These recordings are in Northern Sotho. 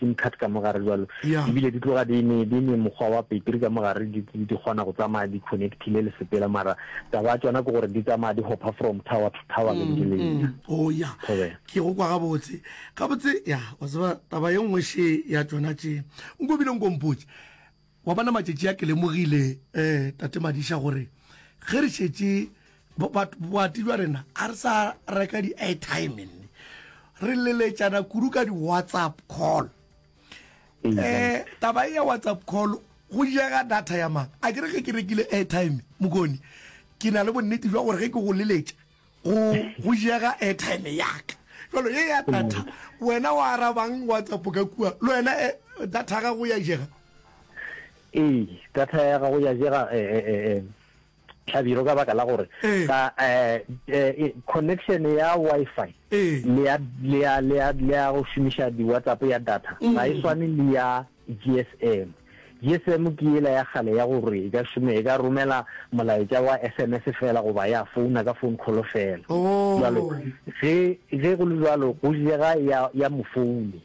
sim card ka mo gare jwalo. Ebile di tloga di ne di ne mokgwa wa petri ka mo gare di di kgona go tsamaya di connectile le sepela mara taba ya tšona ke gore di tsamaya di hopha from tower to tower ge di leletša. Oh ya. Ke go kwa gabotse. Gabotse ya wa tseba taba ye nngwe še ya tšona tše. Nko bile nko mpotše. Wa bona matšatši a ke lemogile eh tate Madiša gore ge re šetše boati bja rena a re sa reka di airtime nne re leletšana kudu ka di WhatsApp call. Eh taba e ya WhatsApp call go jega data ya mang? A ke re ge ke rekile airtime mokoni ke na le bonnete jwa gore ge ke go leletša go go jega airtime ya ka jalo ye ya data wena wa arabang whatsapp ka kua le wena eh, data ya gago ya jega ee data ya gago ya jega eh, eh, eh, hlabiro ka baka la gore ka eh, connection ya wifi le ya le ya le ya le ya go šomiša di whatsapp ya data ga e swane le ya GSM. GSM ke yela ya kgale ya gore e ka šome, e ka romela molaetša wa SMS fela goba ya founa ka phone call fela. Bjalo ge, ge go le bjalo go jega ya, ya mofouni.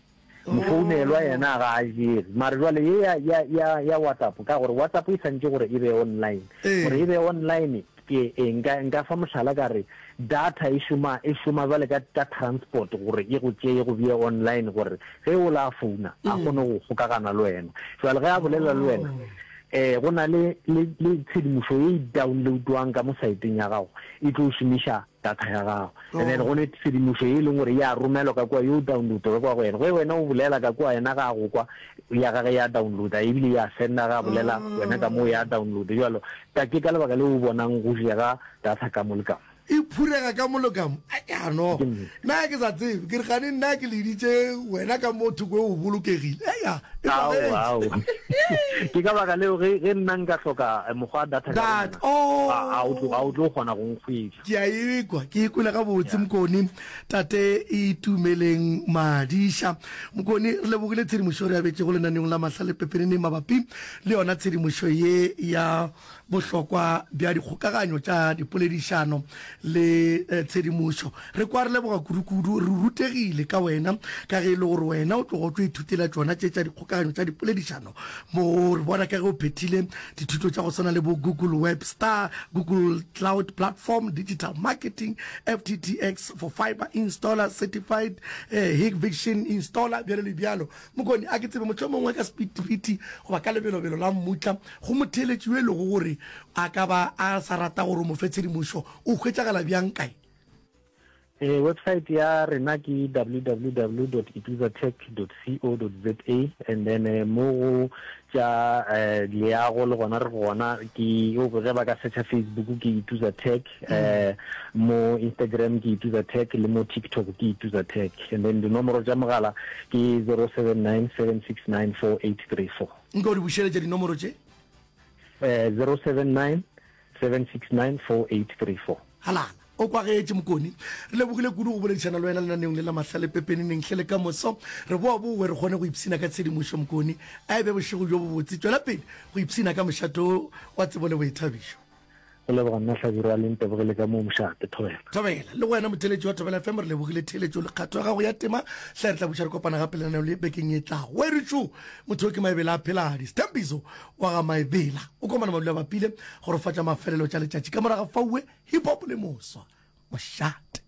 Mofounelwa yena ga a jege. Mara jwale ye ya, ya, ya, ya WhatsApp, ka gore WhatsApp e santše gore e be online. Gore e be online Ke eng? Nka, nka fa mohlala ka re, data e šoma, e šoma bjale ka, ka transport gore e go tšee e go bee online gore ge o la founa a kgone go kgokagana le wena. Jwale ge a bolela le wena, eh, go na le, le, le tshedimošo ye e downloadwang ka mo saeteng ya gago e tlo šomiša data ya gago. And then go ne tshedimošo ye e leng gore ya romelwa ka kua, yo downloada ka kua go yena. Ge wena o bolela ka kua yena ga a go kwa, ya gage ya downloada ebile ya senda ga a bolela wena ka moo ya downloada. Jwalo ka ke ka lebaka leo o bonang go jega data ka mo le ka mo. E phurega ka mo le ka mo. Aya no. Nna ke sa tsebe. Ke re gane nna ke leditše wena ka mo thoko o bolokegile. Aya. E Aowa, aowa. Ke ka baka leo ge ge nna nka hloka mokgwa wa data ka go nna, oh. a o tlo a o tlo kgona go nkhwetša. Ke a ekwa, ke e kwele gabotse Mokone. Tate Itumeleng Madiša. Mokone, re lebogile tshedimošo re abetšego lenaneong la Mahlale Pepeneneng mabapi le yona tshedimošo ye ya bohlokwa bja dikgokaganyo tša dipoledišano le eh, tshedimošo. Re kwa re leboga kudu-kudu, re rutegile ka wena ka ge e le gore wena o tloga o tlo ithutela tšona tše tša dikgokaganyo tša dipoledišano. Mo re bona ka ge o phethile dithuto tša go swana le bo Google Web Star, Google Cloud Platform, Digital Marketing, FTTX for Fiber Installer, Certified eh, Hikvision Installer, bjalo le bjalo. Mokoni, a ke tsebe mohlomongwe ka sepitipiti goba ka lebelobelo la mmutla go motheeletši yo e lego gore a ka ba a sa rata gore o mo fe tshedimošo, o hwetšagala bjang kae? Ee, website ya rena ke www dot ituzatech dot co dot za and then eh, mo go tša eh, leago le gona re gona ke ge ba ka searcha Facebook ke Ituza Tech eh, mo Instagram ke Ituza Tech le mo TikTok ke Ituza Tech and then dinomoro tša mogala ke 079 769 4834. Nka o di bušeletša dinomoro tše? Eh, 079 769 4834. Halala. O kwagetše, Mokoni. Re lebogile kudu go boledišana le wena lenaneong le la Mahlale Pepeneneng. Hle le ka moso re boa-bowe re kgone go ipshina ka tshedimošo, Mokoni. A e be bošego bjo bobotse. Tšwela pele go ipshina ka mošate wo wa tsebo le boithabišo. Go leboga nna Hlabirwa le ntebogele ka moo mošate. Thobela. Thobela. Le go wena motheeletši wa Thobela FM re lebogile theeletšo le kgatho ya gago ya tema. Hle re tla buša re kopana gape lenaneo le bekeng e tlago. Weritšo! Motho yo ke Maebela a Pheladi. Sthembiso wa ga Maebela o komana madula bapile go rofatša mafelelo tša letšatši ka moraga faue hip hop le moswa mošate.